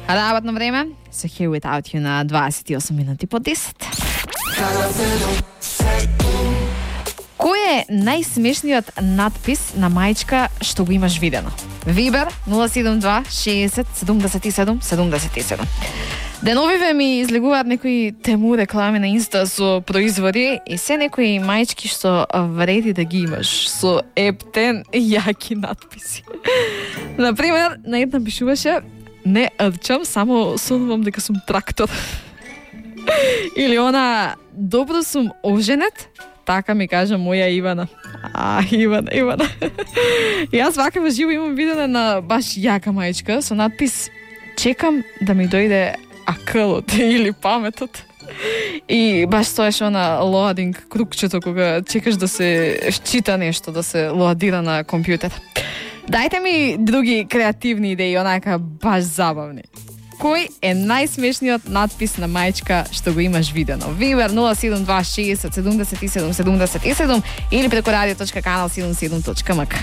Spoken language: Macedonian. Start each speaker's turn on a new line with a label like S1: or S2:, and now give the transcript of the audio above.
S1: Работно време со Here Without You на 28 минути по 10. Кој е најсмешниот надпис на мајчка што го имаш видено? Вибер 072 60 77 77. Деновиве ми излегуваат некои тему реклами на Инста со производи и се некои мајчки што вреди да ги имаш со ептен јаки надписи. Например, на една пишуваше: не рчам, само сонувам дека сум трактор. Или она: добро сум оженет, така ми кажа моја Ивана. Ивана. И јас вака во живо имам видење на баш јака мајчка со надпис: чекам да ми дојде акълот или паметот. И баш стоеше она лоадинг крукчето кога чекаш да се счита нешто, да се лоадира на компјутер. Дајте ми други креативни идеи, онака баш забавни. Кој е најсмешниот надпис на мајчка што го имаш видено? Вибер 072 60 77 77 или преку radio.kanal77.mk.